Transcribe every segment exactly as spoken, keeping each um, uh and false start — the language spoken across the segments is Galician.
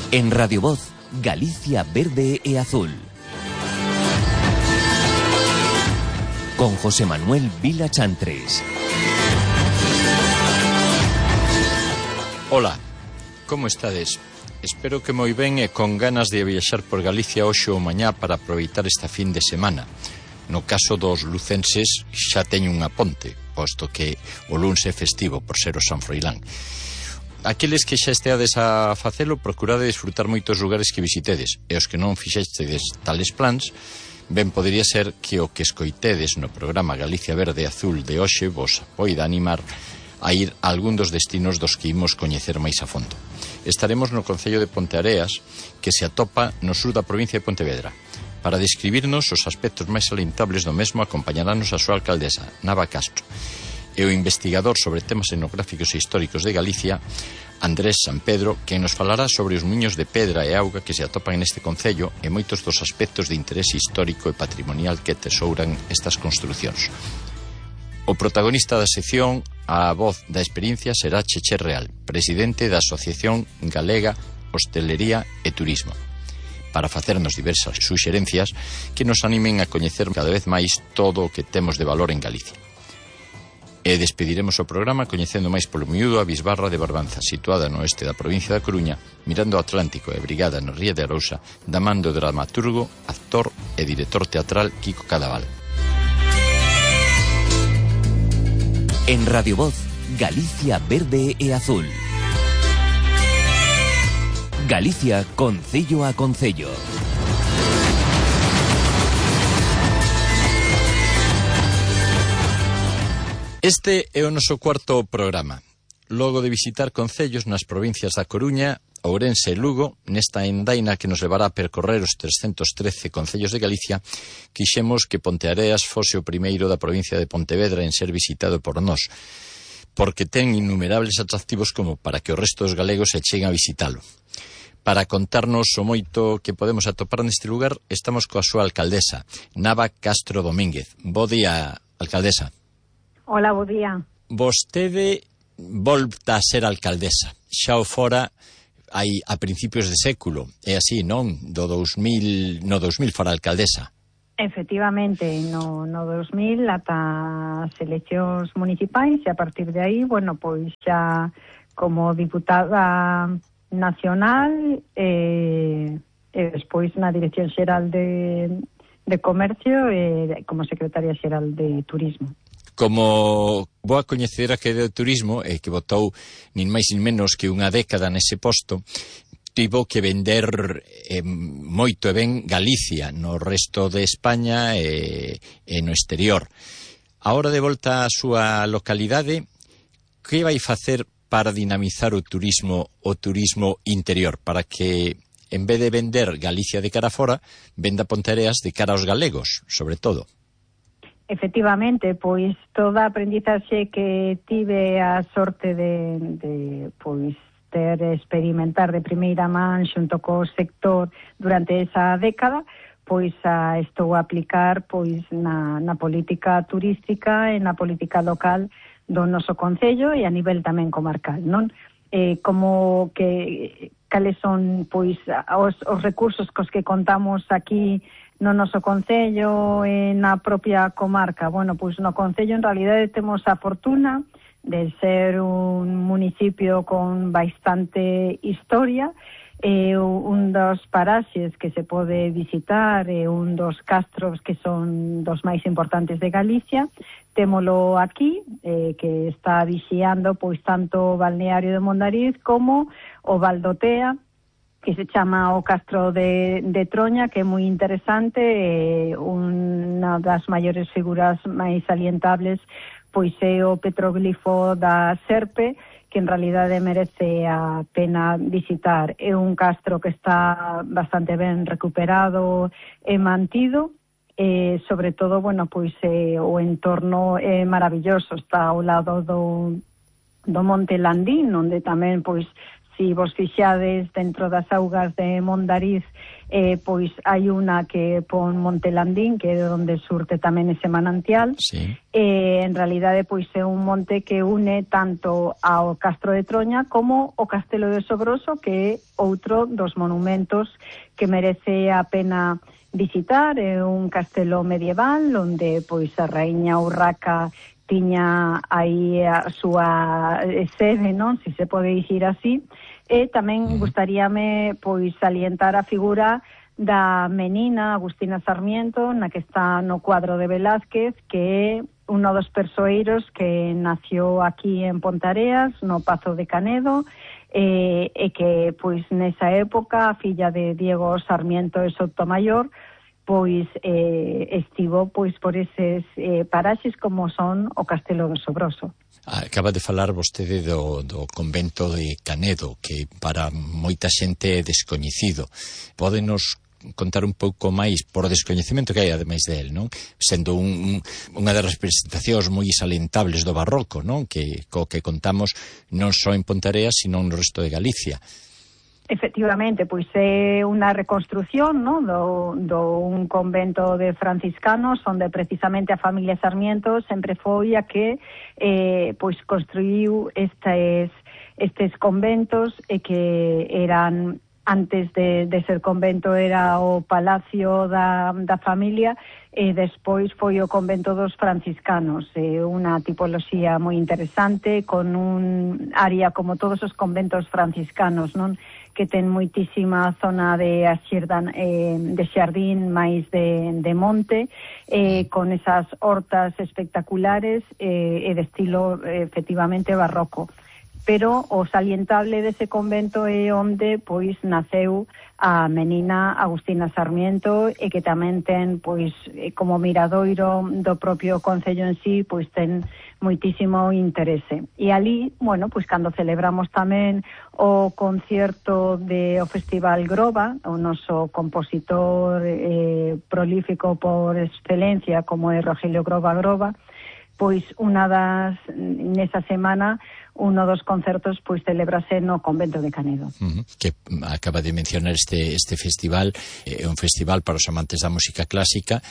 En Radio Voz, Galicia verde e azul. Con José Manuel Vila Chantres. Ola, como estades? Espero que moi ben e con ganas de viaxar por Galicia hoxe ou mañá para aproveitar esta fin de semana. No caso dos lucenses xa teño unha ponte, posto que o luns é festivo por ser o San Froilán. Aqueles que xa esteades a facelo, procurade disfrutar moitos lugares que visitedes, e os que non fixestedes tales plans, ben podería ser que o que escoitedes no programa Galicia Verde e Azul de hoxe vos poida animar a ir a algún dos destinos dos que imos coñecer máis a fondo. Estaremos no concello de Ponteareas, que se atopa no sur da provincia de Pontevedra. Para describirnos os aspectos máis salientables do mesmo, acompañarános a súa alcaldesa, Nava Castro, e o investigador sobre temas etnográficos e históricos de Galicia, Andrés San Pedro, que nos falará sobre os muiños de pedra e auga que se atopan neste concello e moitos dos aspectos de interese histórico e patrimonial que tesouran estas construcións. O protagonista da sección, a voz da experiencia, será Cheche Real, presidente da Asociación Galega Hostelería e Turismo, para facernos diversas suxerencias que nos animen a coñecer cada vez máis todo o que temos de valor en Galicia. E despediremos o programa coñecendo máis polo miúdo a Bisbarra de Barbanza, situada no oeste da provincia da Coruña, mirando ao Atlántico e brigada no Ría de Arousa, da man do dramaturgo, actor e director teatral Kiko Cadaval. En Radio Voz, Galicia verde e azul. Galicia concello a concello. Este é o noso cuarto programa. Logo de visitar concellos nas provincias da Coruña, Ourense e Lugo, nesta endaina que nos levará a percorrer os trescentos trece concellos de Galicia, quixemos que Ponteareas fose o primeiro da provincia de Pontevedra en ser visitado por nós, porque ten innumerables atractivos como para que o resto dos galegos se cheguen a visitalo. Para contarnos o moito que podemos atopar neste lugar, estamos coa súa alcaldesa, Nava Castro Domínguez. Bo día, alcaldesa. Hola, bo día. Vostede volta a ser alcaldesa. Xa o fora hai a principios de século. É así, non? Do dous mil, no dous mil fora alcaldesa. Efectivamente, no, no dous mil ata as eleccións municipais e a partir de aí, bueno, pois xa como diputada nacional e, e despois na Dirección Xeral de, de Comercio e como secretaria xeral de Turismo. Como boa coñecedora que é do turismo e que botou nin máis nin menos que unha década nese posto, tivo que vender eh, moito e ben Galicia no resto de España e, e no exterior. A hora de volta á súa localidade, que vai facer para dinamizar o turismo o turismo interior, para que en vez de vender Galicia de cara fora, venda Ponteareas de cara aos galegos, sobre todo? Efectivamente, pois toda a aprendizaxe que tive a sorte de, de pois ter experimentar de primeira man xunto co sector durante esa década, pois a estou a aplicar pois na, na política turística e na política local do noso concello e a nivel tamén comarcal, non? Eh, como que cales son pois os, os recursos cos que contamos aquí no noso concello e na propia comarca. Bueno, pois no concello en realidade temos a fortuna de ser un municipio con bastante historia e un dos paraxes que se pode visitar e un dos castros que son dos máis importantes de Galicia. Témolo aquí, eh, que está vixiando pois tanto o balneario de Mondariz como o Valdotea, que se chama o Castro de, de Troña, que é moi interesante, e unha das maiores figuras máis salientables pois é o petroglifo da Serpe, que en realidade merece a pena visitar. É un castro que está bastante ben recuperado e mantido, e sobre todo, bueno, pois eh, o entorno é maravilloso, está ao lado do, do Monte Landín, onde tamén pois si vos fixades dentro das augas de Mondariz, eh, pois hai unha que pon Monte Landín, que é onde surte tamén ese manantial. Sí. Eh, en realidade, pois é un monte que une tanto ao Castro de Troña como o Castelo de Sobroso, que é outro dos monumentos que merece a pena visitar. É un castelo medieval onde pois a raíña Urraca tiña aí a súa sede, non? Si se pode dicir así. E tamén gustaríame pois salientar a figura da menina Agustina Sarmiento, na que está no cuadro de Velázquez, que é uno dos persoeiros que nació aquí en Pontareas, no Pazo de Canedo, e, e que pois nesa época a filla de Diego Sarmiento e Sotomayor pois eh, estivo pois por eses eh, paraxes como son o Castelo do Sobroso. Acaba de falar vostede do, do convento de Canedo, que para moita xente é descoñecido. Pódenos contar un pouco máis por descoñecemento que hai ademais del, non? Sendo un, un, unha das representacións moi salentables do barroco, non? Que co que contamos non só en Pontareas, sino no resto de Galicia. Efectivamente, pois é unha reconstrucción, non, do, do un convento de franciscanos onde precisamente a familia Sarmiento sempre foi a que eh, pois construiu estes, estes conventos e que eran, antes de, de ser convento era o palacio da, da familia e despois foi o convento dos franciscanos, eh, unha tipoloxía moi interesante con un área como todos os conventos franciscanos, non? Que ten moitísima zona de axerdan, eh, de xardín máis de, de monte, eh, con esas hortas espectaculares eh, e de estilo eh, efectivamente barroco. Pero o salientable dese convento é onde pois naceu a menina Agustina Sarmiento e que tamén ten pois como miradoiro do propio concello en sí, pois ten moitísimo interese. E ali, bueno, pois cando celebramos tamén o concierto de o Festival Groba, o noso compositor eh, prolífico por excelencia como é Rogelio Groba Groba, pois unha das, nesa semana, uno dos concertos pois celebrase no convento de Canedo. Uh-huh. Que acaba de mencionar este, este festival, é eh, un festival para os amantes da música clásica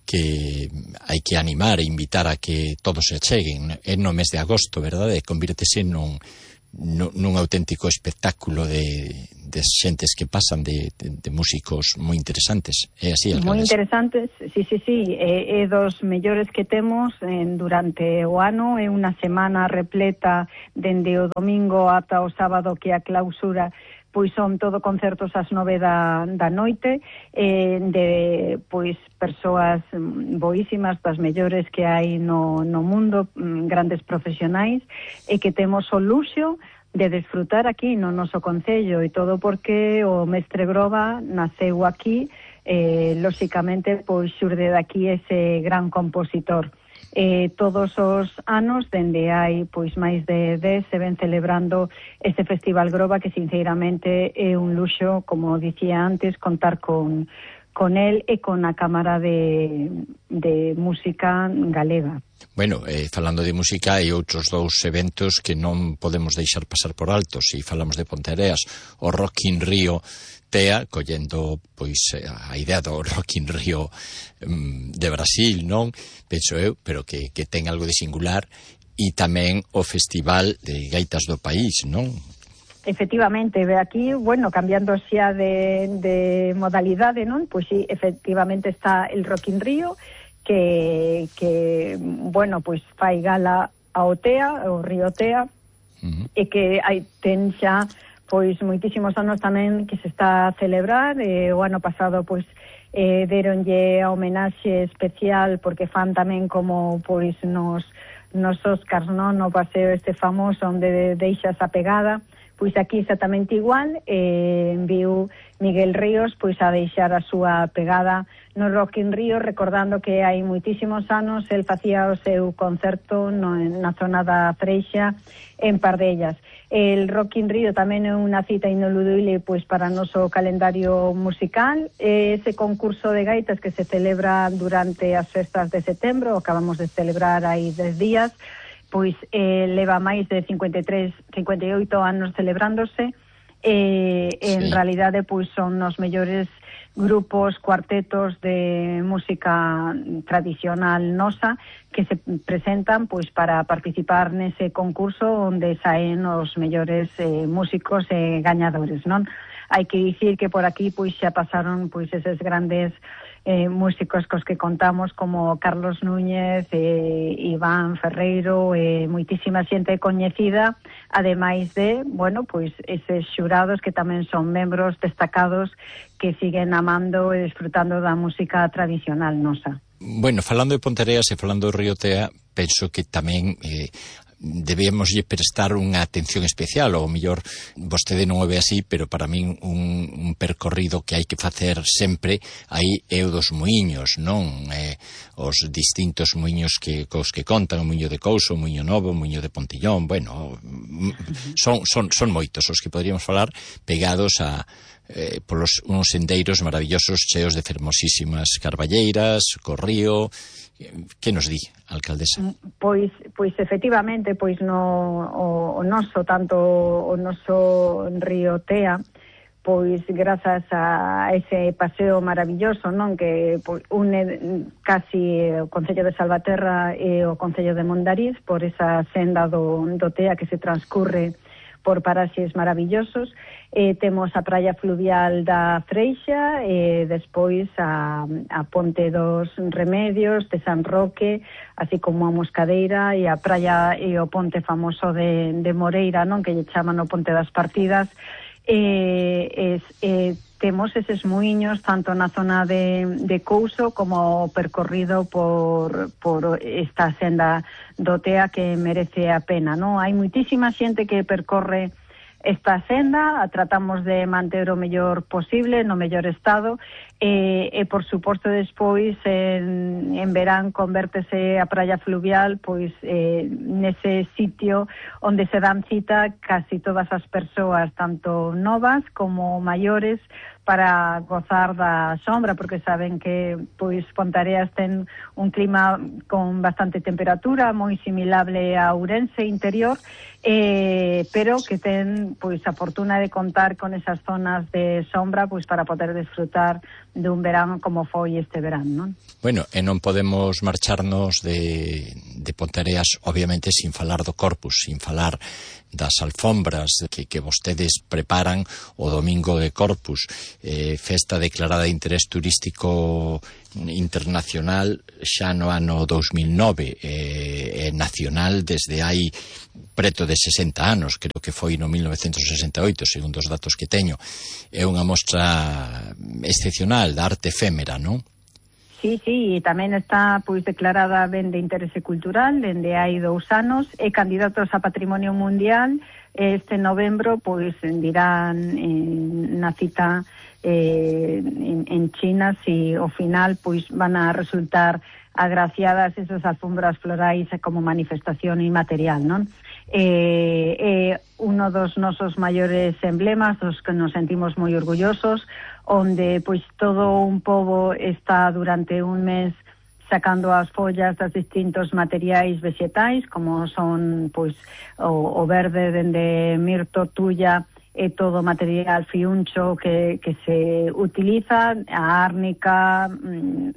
que hai que animar e invitar a que todos se acheguen. É no mes de agosto, verdade? Convírtese nun, nun, nun auténtico espectáculo de, de xentes que pasan de, de, de músicos moi interesantes. É así, alcaldes? Moi interesantes, sí, sí, sí. É, é dos mellores que temos en, durante o ano. É unha semana repleta dende o domingo ata o sábado, que a clausura pois son todo concertos ás nove da, da noite, eh, de pois persoas boísimas, das mellores que hai no, no mundo, grandes profesionais, e que temos o luxo de desfrutar aquí no noso concello, e todo porque o mestre Groba naceu aquí, eh, lóxicamente pois xurde daqui ese gran compositor. Eh, todos os anos, dende hai pois máis de dez, se ven celebrando este Festival Groba, que sinceramente é un luxo, como dicía antes, contar con, con el e con a Cámara de, de Música Galega. Bueno, eh, falando de música, hai outros dous eventos que non podemos deixar pasar por alto. Se falamos de Ponteareas, o Rock in Rio Tea, collendo pois a idea do Rock in Rio um, de Brasil, non? Penso eu, pero que, que ten algo de singular, e tamén o Festival de Gaitas do País, non? Efectivamente, ve aquí, bueno, cambiando xa de, de modalidade, non? Pois sí, efectivamente está el Rock in Rio, que, que bueno, pois fai gala ao Tea, o Río Tea, uh-huh. E que hai, ten xa pois moitísimos anos tamén que se está a celebrar. Eh, o ano pasado pois eh, deronlle a homenaxe especial porque fan tamén como pois nos, nos Óscars, non? No paseo este famoso onde deixas a pegada. Pois aquí exactamente igual, eh, enviou Miguel Ríos pois a deixar a súa pegada no Rock in Rio, recordando que hai moitísimos anos el facía o seu concerto no, na zona da Freixa en Pardellas. El Rock in Rio tamén é unha cita ineludible pois para o noso calendario musical. Ese concurso de gaitas que se celebra durante as festas de setembro, acabamos de celebrar aí dez días, pois eh, leva máis de cincuenta e tres, cincuenta e oito anos celebrándose, e sí. en realidade pois son os mellores grupos, cuartetos de música tradicional nosa que se presentan pois para participar nese concurso onde saen os mellores eh, músicos e gañadores, non? Hai que dicir que por aquí pois xa pasaron pois eses grandes eh, músicos cos que contamos como Carlos Núñez, eh, Iván Ferreiro, e eh, moitísima xente coñecida, ademais de, bueno, pois eses xurados que tamén son membros destacados que siguen amando e disfrutando da música tradicional nosa. Bueno, falando de Ponteareas e falando do Río Tea, penso que tamén eh, debemos prestar unha atención especial, ou mellor vostede non o ve así, pero para min un, un percorrido que hai que facer sempre aí é o dos muiños, non? Eh, os distintos muiños que cos que contan, o muiño de Couso, o muiño Novo, o muiño de Pontillón, bueno, son, son, son moitos os que poderíamos falar pegados a eh, polos uns sendeiros maravillosos cheos de fermosísimas carballeiras, co río. Que nos di, alcaldesa? Pois, pois efectivamente, pois no o, o noso, tanto o noso río Tea, pois grazas a ese paseo maravilloso, non, que pois, une casi o Concello de Salvaterra e o Concello de Mondariz por esa senda do, do Tea que se transcurre por paraxes maravillosos. Eh, temos a praia fluvial da Freixa, e despois a, a Ponte dos Remedios de San Roque, así como a Moscadeira e a praia e o ponte famoso de, de Moreira, non, que lle chaman o Ponte das Partidas. Eh, es, eh, temos eses muiños tanto na zona de, de Couso como percorrido por, por esta senda do Tea que merece a pena, non? Hai moitísima xente que percorre esta senda, a tratamos de manter o mellor posible, no mellor estado, e, e por suposto despois en, en verán convértese a praia fluvial pois eh, nese sitio onde se dan cita casi todas as persoas, tanto novas como maiores, para gozar da sombra, porque saben que pois Ponteareas ten un clima con bastante temperatura, moi similable a Ourense interior, eh, pero que ten pois a fortuna de contar con esas zonas de sombra pois para poder disfrutar dun verán como foi este verán, non? Bueno, e non podemos marcharnos de, de Ponteareas, obviamente, sin falar do Corpus, sin falar das alfombras que, que vostedes preparan o domingo de Corpus, eh, festa declarada de interés turístico internacional xa no ano dous mil nove, eh, e nacional desde hai preto de sesenta anos, creo que foi no mil novecentos sesenta e oito, segundo os datos que teño. É unha mostra excepcional da arte efémera, non? Sí, sí, e tamén está pois declarada ben de interese cultural dende hai dous anos, e candidatos a Patrimonio Mundial. Este novembro pois dirán en, na cita eh, en, en China si ao final pois van a resultar agraciadas esas alfombras florais como manifestación inmaterial, non? Eh, eh, uno dos nosos maiores emblemas, dos que nos sentimos moi orgullosos, onde pois todo un pobo está durante un mes sacando as follas das distintos materiais vegetais, como son pois o, o verde dende mirto, tulla e todo material fiuncho que, que se utiliza, a árnica,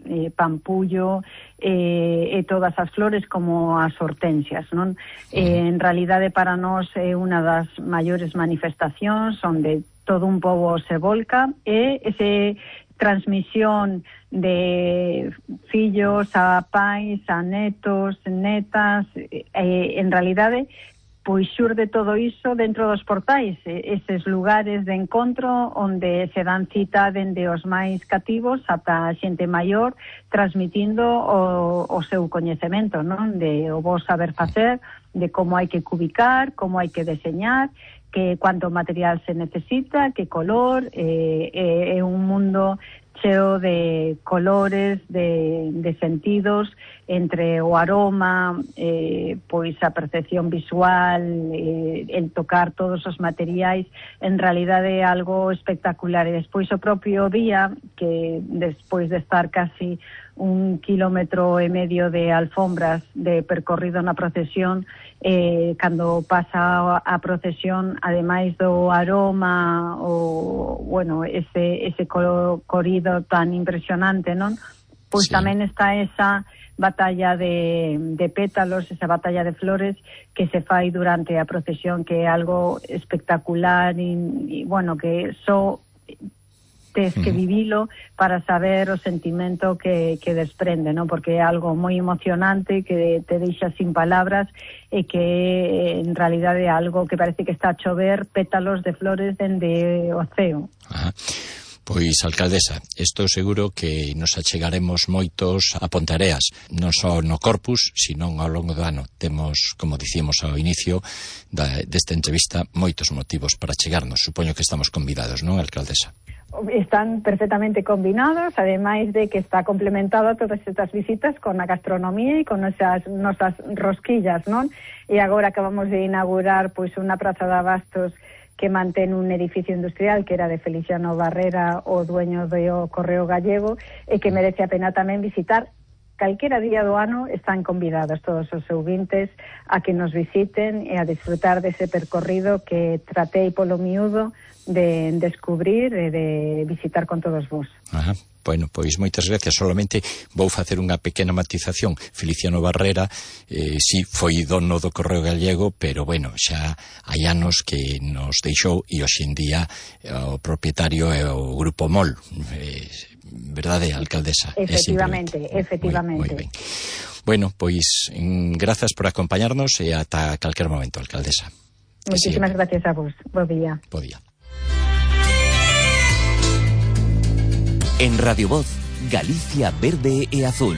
eh, pampullo eh, e todas as flores como as hortensias, non? Eh, en realidade para nós é unha das maiores manifestacións onde todo un pobo se volca, e ese transmisión de fillos a pais, a netos, netas, eh, en realidade pois xurde todo iso dentro dos portais, eses lugares de encontro onde se dan cita dende os máis cativos ata a xente maior, transmitindo o, o seu coñecemento, non? De o bo saber facer, de como hai que cubicar, como hai que deseñar, que cuánto material se necesita, que color, é eh, eh, un mundo cheo de colores, de, de sentidos, entre o aroma, eh, pois a percepción visual, eh, el tocar todos os materiais, en realidade é algo espectacular. E despois o propio día, que despois de estar casi un kilómetro e medio de alfombras de percorrido na procesión. Eh, cando pasa a procesión, ademais do aroma o, bueno, ese, ese corrido tan impresionante, non? Pois sí. Tamén está esa batalla de, de pétalos, esa batalla de flores que se fai durante a procesión, que é algo espectacular e, e bueno, que só tes que vivilo para saber o sentimento que, que desprende, ¿no? Porque é algo moi emocionante que te deixa sin palabras e que en realidade é algo que parece que está a chover pétalos de flores dende o ceo. Ajá. Pois, alcaldesa, estou seguro que nos achegaremos moitos a Ponteareas, non só no Corpus, sino ao longo do ano. Temos, como dicíamos ao inicio da, desta entrevista, moitos motivos para chegarnos. Supoño que estamos convidados, non, alcaldesa? Están perfectamente combinados, ademais de que está complementado todas estas visitas con a gastronomía e con esas nosas rosquillas, non? E agora acabamos de inaugurar pois unha praza de abastos que mantén un edificio industrial que era de Feliciano Barrera, o dueño do Correo Gallego, e que merece a pena tamén visitar. Calquera día do ano están convidados todos os ouvintes a que nos visiten e a disfrutar dese percorrido que tratei polo miúdo de descubrir e de visitar con todos vos. Ajá. Bueno, pois moitas gracias. Solamente vou facer unha pequena matización. Feliciano Barrera, eh, si foi dono do Correo Gallego, pero bueno, xa hai anos que nos deixou e hoxe en día o propietario é o Grupo Mol. Eh, verdade, alcaldesa? Efectivamente, efectivamente. Moi, moi ben. Bueno, pois grazas por acompañarnos e ata calquer momento, alcaldesa. Muchísimas gracias a vos. Bo día. Bo día. En Radio Voz, Galicia Verde e Azul.